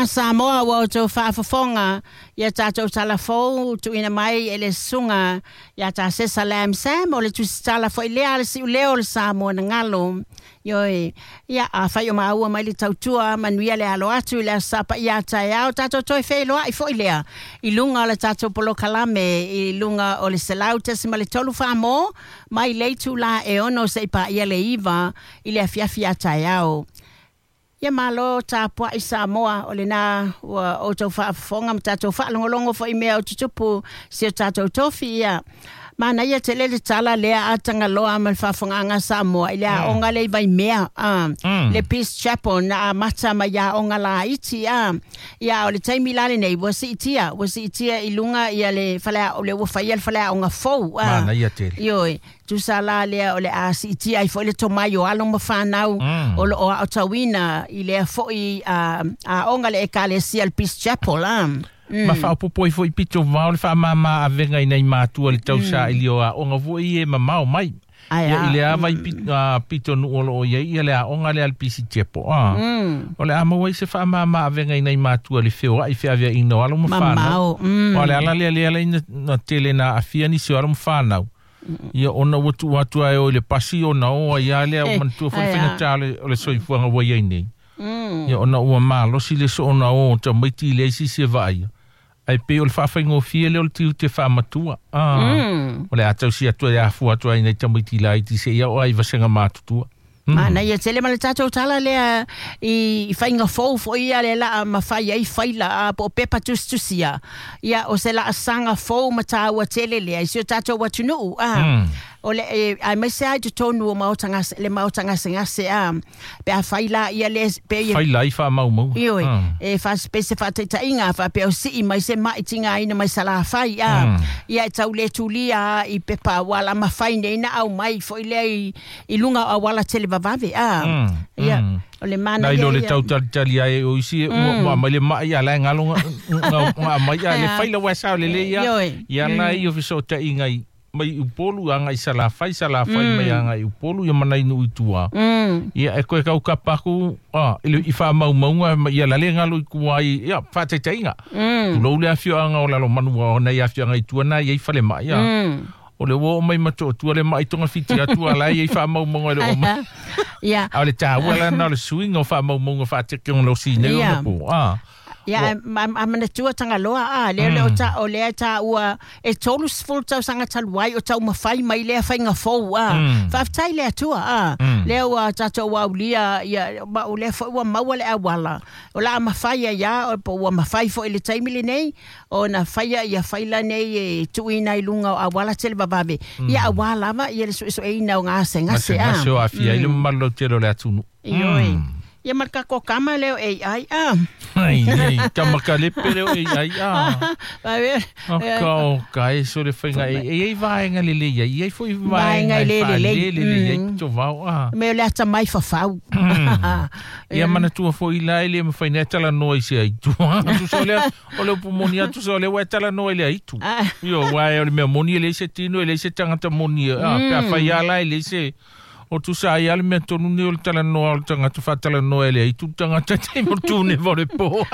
lena Samoa ua outou faafofoga i a tatou tala fou tuuina mai e le Susuga ia Tasesa Lam Sam, o le tusitala foi lea a le siuleo o le Samoa na galo. Ioe, ia, afai o maua mai le tautua, manuia le alo atu i le Aso Sa Paia a taeao, tatou toe feiloai foi lea i luga o le tatou polokalame i luga o le 100.3 Samoa mai le itula e 6 seia paia le 9 i le afiafi a taeao. Ia malo tapuai Samoa, o lena ua outou faafofoga ma tatou faalogologo foi i mea o tutupu si o tatou tofi. Ia manaia tele le tala lea a Tagaloa ma le faafofogaaga a Samoa i le aoga lea i Vaimea, a, le Peace Chapel na amata mai aoga laiti, a. Ia a o le taimi la lenei ua siitia, ua siitia i luga ia le faleaoga, lea ua faia le faleaoga fou, a. Manaia tele. Ioe. Tusa la lea o le a siitia ai foi le tomai o alo ma fanau o lo o aotauina i lea foi aoga le Ekalesia le Peace Chapel. A. Ma faaopoopo ai foi pito vao le faamama avega i nai matua i le tausaili o aoga foi ia e mamao mai. Ia i le a vai pitonuu o lo o i ai ia le aoga lea a le Peace Chapel. A. O le a maua ai se faamama avega i nai matua i le feoai feaveaiina o alo ma fanau. Aua o le ala lea lea ala ai na tele na aafia nisi o alo ma fanau. Ia ona ua tuu atu lava e o i le pasi ona o ai lava lea, ua manatua foi le faigata o le soifuaga ua i ai nei. Ia ona ua malosi le soona o o tamaiti i leai se isi e vaaia, ae pei o le faafaigofie lea o le tiute faamatua. O le a tausi atu ai afua atu ai i nai tamaiti laiti seia oo lava i vasega matutua. Manaia tele ma le tatou tala lea i faiga fou foi ia le laa mafai ai faila a po o pepa tusitusia. Ia o se laasaga fou ma taua tele lea i si o tatou atunuu a. O le aemaise lava i totonu o maota gase, le maota gasegase a. Pe afai la ia le pe ia Faila ai faamaumauga. Ioe, e fa, pe se faataitaiga faapea o sii mai se mai tigaina mai Salafai a. Ia e tau le tulia lava i pepa ua la mafai nei na aumai foi lea i i luga o auala televavave a. Ia, o le manaia Nai lo le tau talitali ai o isi ua aumai le mai a la e galo nga aumai a le faila ua e sao lelei ia. Ia la i o fesootaiga i mai Upolu agai i Salafai, Salafai mai agai i Upolu ia ma nai nuu i tua. Ia e koe kau kapa aku a i le i faamaumauga ma ia la le galo i tua i ia faataitaiga. Tulou le afioaga o Lalomanu o nai afioaga i tua na i ai falemai a. O le ua oo mai Motootua le mai togafiti atu a la e i ai faamaumauga e le oo mai. Ia. A o le taua la lena o le suiga o faamaumauga faatekonolosi nei ona po. A. Ia, a manatua Tagaloa, a, lea o lea o ta, o lea e taua e 30 tausaga talu ai o taumafai mai lea faiga fou, a. Faafetai i le Atua, a. Lea ua tatou aulia, ia, ma o lea foi ua maua le auala, o le a mafai ai lava, po ua mafai foi i le taimi lenei, ona faia ia faila nei e tuuina i luga o auala televavave, ia aua lava ia le suesueina o gasegase. Gasegase o aafia ai le mamalu lautele o le atunuu. Ioe. Ia ma le tatou tama lea o AI a. Ai, ai, tama kalepe lea o AI a. Aka o ka e so le faiga e e ai vaega lelei ai, e ai foi vaega e faalelelei ai pito vao a. Me o le atamai fafau. Ia manatua foi la e le mafai nei talanoa i se aitu. Tusa o lea, o le upu moni atu sa o lea ua e talanoa i le aitu. Io, aua o le mea moni e leai se tino, e leai se tagata moni. A, pe afai lava la e leai se... O tusa ai lava le mea tonu nei o le talanoa o le tagata faatalanoa e le aitu le tagata i taimi o le tuneva o le po.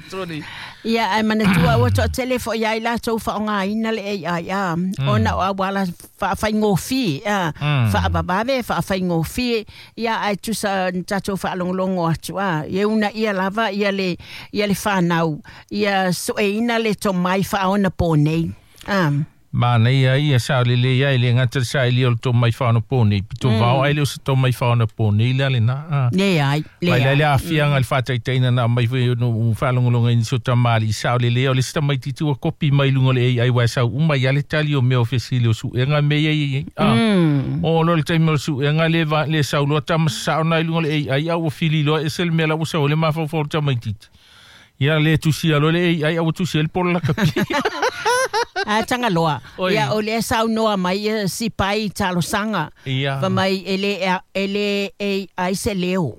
Sorry. Ia, ae manatua ua toatele foi lava i latou faaaogaina le AI, a, ona o auala faafaigofie, a, faavavave, faafaigofie, Ia, ae tusa na tatou faalogologo atu, a, ia uunaia lava ia le, ia le fanau, ia sueina le tomai faaonaponei. A. Manaia ia sao lelei ai, e le gata le saili o le tomai faaonaponei, pito vao ae le o se tomai faaonaponei la lena. A. Leai, Mai leai. la le aafiaga i le faataitaiga na aumai foi ona ou faalogologo ai i nisi o tamalii sao lelei o le isi tamaitiiti ua kopi mai i luga o le AI aua e sau uma ai lava le tali o mea o fesili o suega mea ia i ai. A. Oo loa i le taimi o le suega le va, le sau loa tama sasao na i luga o le AI a ua fili loa ese le mea la ua sau ai le mafaufau o le tamaitiiti. Ia le tusia loa le AI a ua tusi ai le polo lakapi. A Tagaloa, Oi. ia o lea saunoa mai ia Sipai i talosaga. Ia. Fai mai e le, e le AI se leo.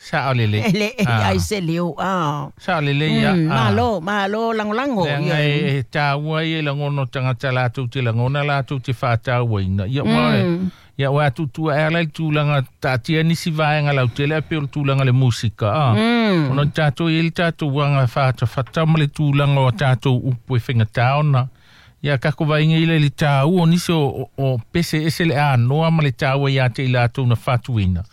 Sa o le le. Le ai se leo a. Sa le le ia. Malo, malo langolango. Leaga e taua ia i lagona o tagata latou te lagona latou te faatauaina. Ia ua ia ua tutua e ala i tulaga taatia nisi vaega lautele ae pei o le tulaga le musika a. Ona tatou i le tatou aga faatafata ma le tulaga o tatou upu e faigata ona. Ia kako vaaiga ila i le taua o nisi o pese ese le anoa ma le taua ia te i latou na faatuina.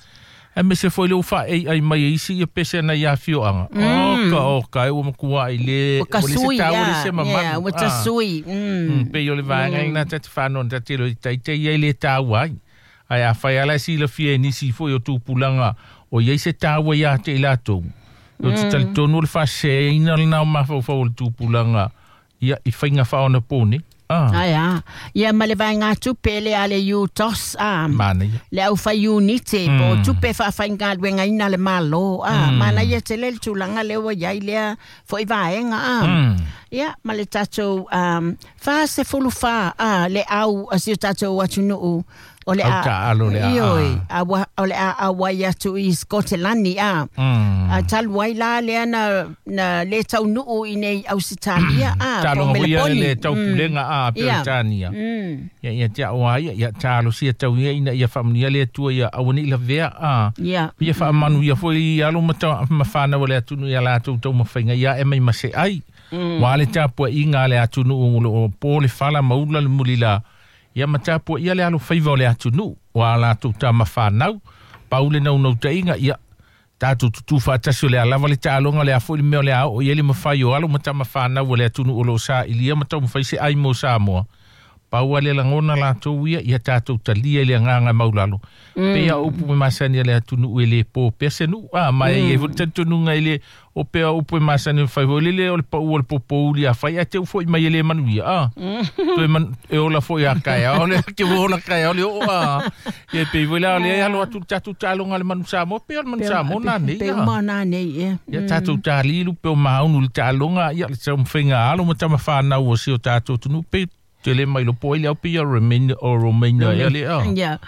E mese foi le ufa ei ai mai isi ia pese na ia fioanga. Oka oka e ua makua i le o le se taua le se mamalu. Ua tasui. Pei o le vaega ina ta te whanau ta te lo i taite ia i le taua ai. Ai a whai ala si la fia nisi foi o tupulanga o iai se taua ia te i latou. O te talitonu le whasea ina le nao mawhauwhau o le tupulanga ia i whainga whaona pōne. Ai a. Ia ma le vaega tupe le ale UTOS a. Mana ia. Le au whai unite po tupe whaawhainga luenga ina le malo a. Mana ia te le tulaga le ua iai lea foi vaega a. Ia ma le tatou 44 a le au a si o tatou atunuu o le a alo le a. Ioi a o le a wai atu i Scotland a. A talu ai la lea na le taunuu i nei Ausitalia a. Talo ia le taupulega a Peretania. Ia ia te au ai ia talo sia tau ia ina ia faamanuia le Atua ia aua nei lavea a. Ia faamanu ia foi alo ma whanau le atunuu ia latou taumafaiga ia e mai ma se ai. Wa le tapuaiga a le atunuu o po le fala maula le mulila. Ia ma tapuaia le alo faiva o le atunuu wa latou tamawhanau. Pau le naunautaiga ia tatou tutu faatasi o le alava le taaloga le a foi le mea o le a oo i ai le mafai o alo ma tamawhanau o le atunuu o loo sa'ilia ma taumafai se ai mo Samoa. Pau a le lagona latou ia ia tatou talia i le agaga maulalo. Pei a upu e masani a le atunuu e lē po pea se nuu a ma e iai foi le talitonuga i le o pea upu e masani fai foi lele o le pa'u o le popouli a fai ae te u fo'i mai e lē manuia a. Toe e ola foi a kaeao le ke ua ola kaeao le oo a. Ia pei foi la o le alo atu le tatou taaloga le manu Samoa pei o le manu Samoa nanei a. Pe uma nanei ia. Ia tatou talilu pe o maunu le taaloga ia le taumafaiga alo ma tamawhanau o si o tatou atunuu pe tele mai lopo ai le au pei o Romania o Romania ia le a. Ia.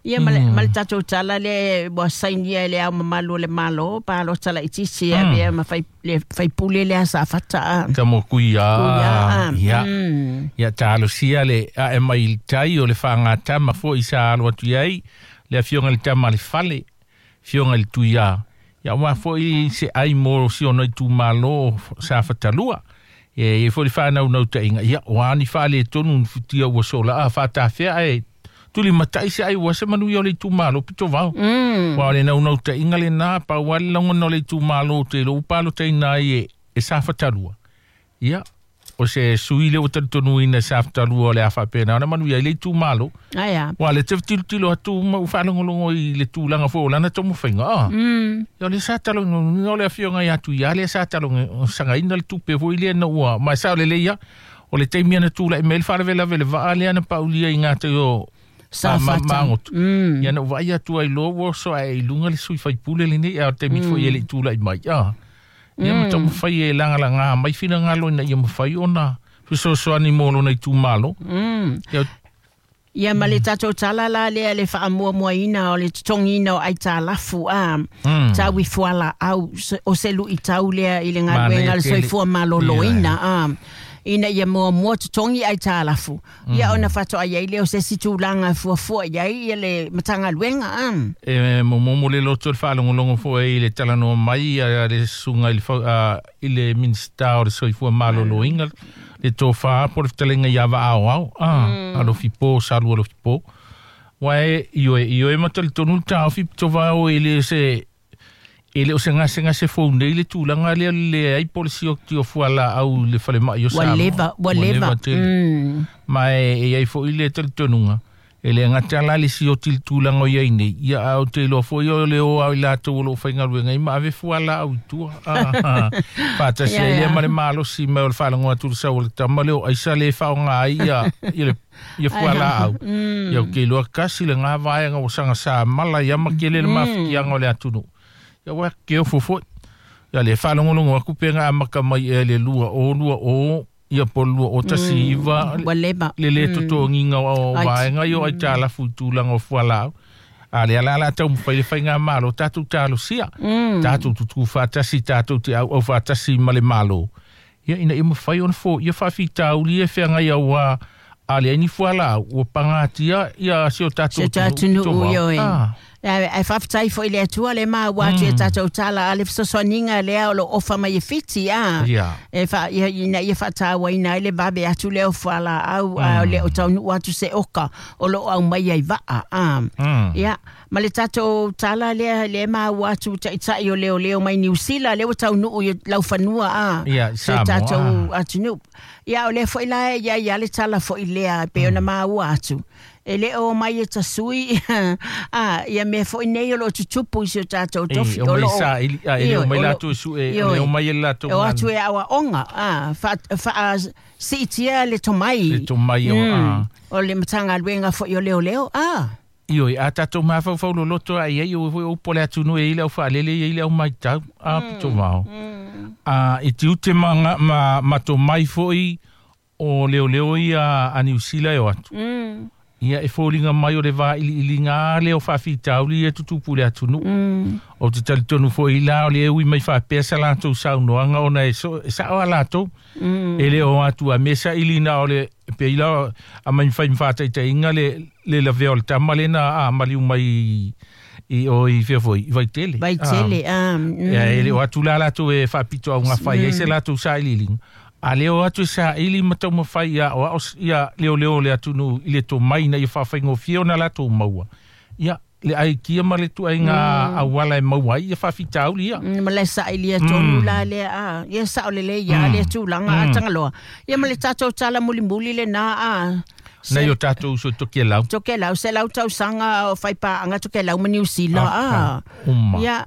Ia ma le tatou tala le ua sainia le au mamalu o le malo pa lo tala itiiti ia mea ma fai le faipule le asa fata a. Ka mo kuia. Ia. Ia talosia le a e mai tai o le whangatama foi sa alo atu iai le afioga le tama le fale fioga le tuia. Ia ua foi se ai mo si ona i tūmalo sa fatalua. E foi le whānau-nautaiga ia o ani whaale tonu futia ua sola a whātawhea e tuli matai se ai ua se manu ia o le tūmalo pito vao. Wa o le naunau-taiga le nā pa ua le lagona o le tūmalo te lo upalo taina ai e sa whatalua. Ia o se sui le o talitonuina sa whatalua o le a whapena ona manu ia i le tūmalo. Aia. Wa le te tilotilo atu ma u whaalongolongo i le tūlanga fo o lana taumafaiga a. Ia o le sa taloga o le afioga ia atu ia le sa taloga sagaina le tupe foi lea na ua ma sa o le leia o le taimi ana tula'i mai le faalavelave le vaa lea na paulia i gatai o sa magoto. Ia na uvaai atu ai loa ua oso ae i luga le sui faipule lenei a o le taimi foi e le'i tula'i mai a. Ia ma taumafai e lagalagā mai finagalo ina ia mafai ona fesoasoani mo lona itumalo. Ia Ia ma le tatou tala la lea le faamuamuaina o le totogiina o aitalafu a. Tau i fualaau o se lu'itau lea i le galuega le soifua malōlōina a. Ina ia muamua totogi aitalafu. Ia ona faatoa ai lea o se isi tulaga e fuafua iai ia le matagaluega a. E momomo le loto le faalogologo foi i le talanoa mai a le susuga i le Minista o le Soifua Malōlōina le tofā po le fetalega ia vaaoao a alofipo salu alofipo. Wa e ioe ma talitonu le taofi pito vao e le se e le o se gasegase fou nei le tulaga lea le ai polisi o ti o fualaau le falemai o Samoa. Ua leva. Tele. Ma e ai foi le talitonuga e le gata la le sioti le tulaga o iai nei ia a o te iloa foi o le o au i latou o loo faigaluega ai ma ave fualaau i tua. Faatasi ai lea ma le malosi mai o le faalagoa atu le sau o le tama le o aisa le faaaoga ai ia ia fualaau. Ia o ke iloa kasi le gā vaega ua sagasā mala ia ma kele le mafatiaga o le atunuu. Ia ua ke ofo foi. Ia le faalogologo aku pega amaka mai ea le 2 o 2 o ia po 2 o 19 Ua leva. Le le totogiga o vaega ia o aitalafu i tulaga o fualaau. A le ala ala taumafai le faigamalo tatou talosia. Tatou tutu faatasi tatou te auau faatasi ma le malo. Ia ina ia mafai ona foia faafitauli e feagai auā a leai ni fualaau ua pagatia ia si o tatou Si o tatou atunuu atunuu, ioe. Ah. Ae faafetai foi i le Atua le maua atu i a tatou tala a le fesoasoaniga lea o lo o ofa mai e Fiti a. Ia. E fa, ia, ina ia faatauaina ai le vave atu lea o fualaau a o le o taunuu atu se oka o lo o aumai ai vaa a. Ia, ma le tatou tala lea le maua atu taitai o leoleo mai Niu Sila lea ua taunuu i laufanua a. Ia, i Si o Samoa, tatou a. atunuu. Ia, o lea foi la e ia ia le tala foi lea pe ona maua atu. E le o mai e tasui a ia mea foi nei o lo o tutupu i si o tatou E, tofi o o mai lo o saili, a, e le Ioe, o mai o lo latou e sue, o le Ioe. o mai e le latou O atu ganu. e aoaoga a fa fa siitia le tomai. Le tomai o, a. O le Matagaluega foi o leoleo a. Ioe, a tatou mafaufau loloto a iai o foi upu o le atunuu e i le au faalele e i le au maitau a pito vao. A e tiute ma, ma, ma tomai foi o leoleo ia a Niu Sila e o atu. Ia e foliga mai o le vailiiliga lea o faafitauli ia tutupu i le atunuu. O te talitonu foi la o le ui mai faapea sa latou saunoaga ona e, so, e sao a latou. E le o atu a mea sailina o le pe ila a mai fai faataitaiga le le lavea o le tama lena a maliu mai i o i fea foi i Vaitele. Vaitele a. Ia, e le o atu la latou e faapito augafa ai se latou sailiiliga. A le o atu e saili ma taumafai ia o ao ia leoleo o le atunuu i le tomai ina ia faafaigofie ona latou maua. Ia, le aikia ma le tuaiga auala e maua ai ia faafitauli ia. Ma le sailia tonu la lea a. Ia sao lelei ia lea tulaga a Tagaloa. Ia ma le tatou tala mulimuli lena a. Nai o tatou uso i Tokelau. Tokelau, se lau tausaga o faipaanga Tokelau ma Niu Sila a. Uma. Ia,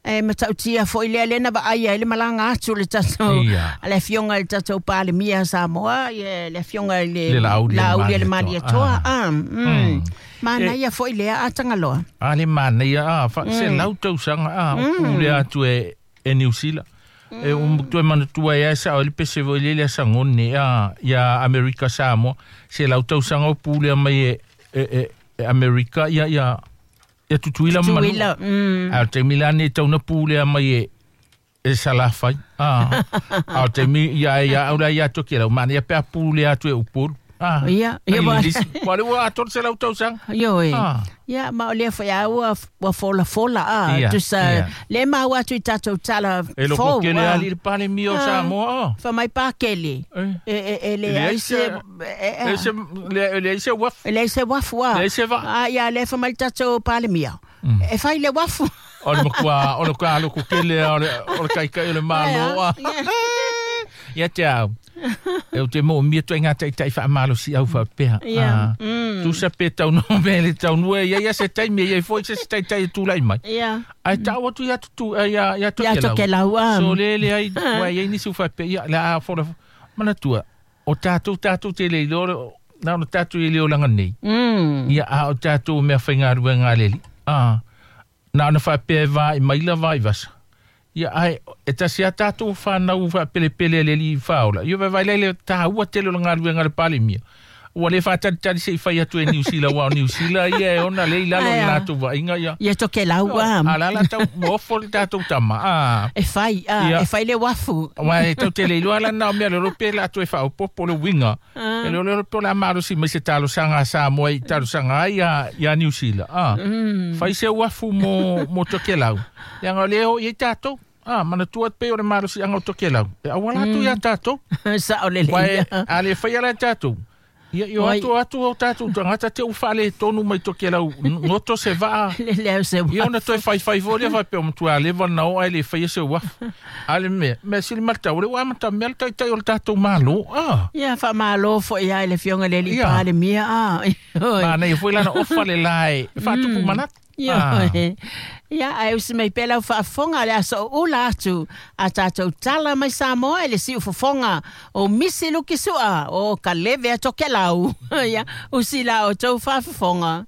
e matautia foi lea lena vaai ai le malaga atu le tatou Ia. le afioga i le tatou Palemia Samoa, ia le afioga i le Le Laauli Laauli a le Malietoa. Malietoa a. Manaia foi lea a Tagaloa. A le manaia a, fa, se lau tausaga a, o pule atu e, e Niu Sila. E toe manatua e ai sa o le pese foi le le sangone a, ia Amerika Samoa. Se lau tausaga o pule mai e, e, e, e Amerika ia, ia, ia Tutuila ma Manua. Tutuila. A o taimi la nei tauna pule mai e, e Salafai. A, a o taimi ia ia au la ia Tokelau. Manaia pe a pule atu e Upolu. A, Ia, ia ai wa- lisi. Wa le ua atoa se lau tausaga. Ioe. Ah. Ia, ma o lea foi a ua, ua fola fola a. Ia, Tusa, ia. le maua atu i tatou tala E loko fou, kele a. ali le Palemia o Samoa. Fa mai pākele. Eh. E, e, e le E leai ai se... se- E se le le se wafu. E leai se wafu a. Leai se vaa. A, ia, le fa mai le tatou Palemia. E fai le wafu. O le makua, o le ka loko kele o le o le kaikai o le malo. Ai, a. Ia te au. E o te mo mia tu ngā taitai whaamalo si au whapea. Ia. Tusa pe tau no me le tau nue ia ia se taimi ia foi se se taitai e tūlai mai. Ia. Ai tau atu ia tutu ia ia Ia Tokelau. Tokelau, a. So le le ai wa ia nisi whapea ia la a fora manatua. O tātou tātou te le loro na no tātou i le olanga nei. Ia a o tātou mea whaingaruenga leli. A na ona whapea e vā i maila vā i vasa. Ia ai e tasi a tātou whanau whapelepele leli i whaola. Ia vai vai lele tāua tele o le ngaruenga le Palemia. Ua le whātari se i whai atu e Niu Sila wa o Niu Sila ia e ona le i lalo Ai, i a. lātou vainga ia. Ia Tokelau a. A la la tau mofo le tātou tama. A. E fai, a, Ia. e fai le wafu. Wa e tau te le iloa la nao mea le rope la atu e whaopopo le winga. E le le rope la maro si mai se talosanga a Samoa i talosanga ai ia, ia Niu Sila. A. Fai se wafu mo, mo Tokelau. Ia ngā leo i tātou. A, manatua pe o le maro si anga o Tokelau. E awala atu ia tātou. Sa o le Wa e, leia. a le whai ala tātou. Ia, i o Wai. atu atu o tātou tangata te uwhale tonu mai Tokelau. Ngoto se vaa. Le leo se Ia wafu. ona toe whai whai fō whai pe o matua lewa na o ai le whai se wafu. Ale me, me sili mata, o le wa mata mea le taitai o le tātou malo. Ah, Ia, whamalo fo ia i le fionga le li Ia. Palemia a. Oi. mana ia foi lana ofa le lae, whaatupu manatu. Ia, ia, ai usi mai pela whaafonga le aso o ula atu a tātou tala mai Samoa e le siu fofonga o misi luki sua o ka leve a Tokelau. Ia, usi la o tau whaafonga.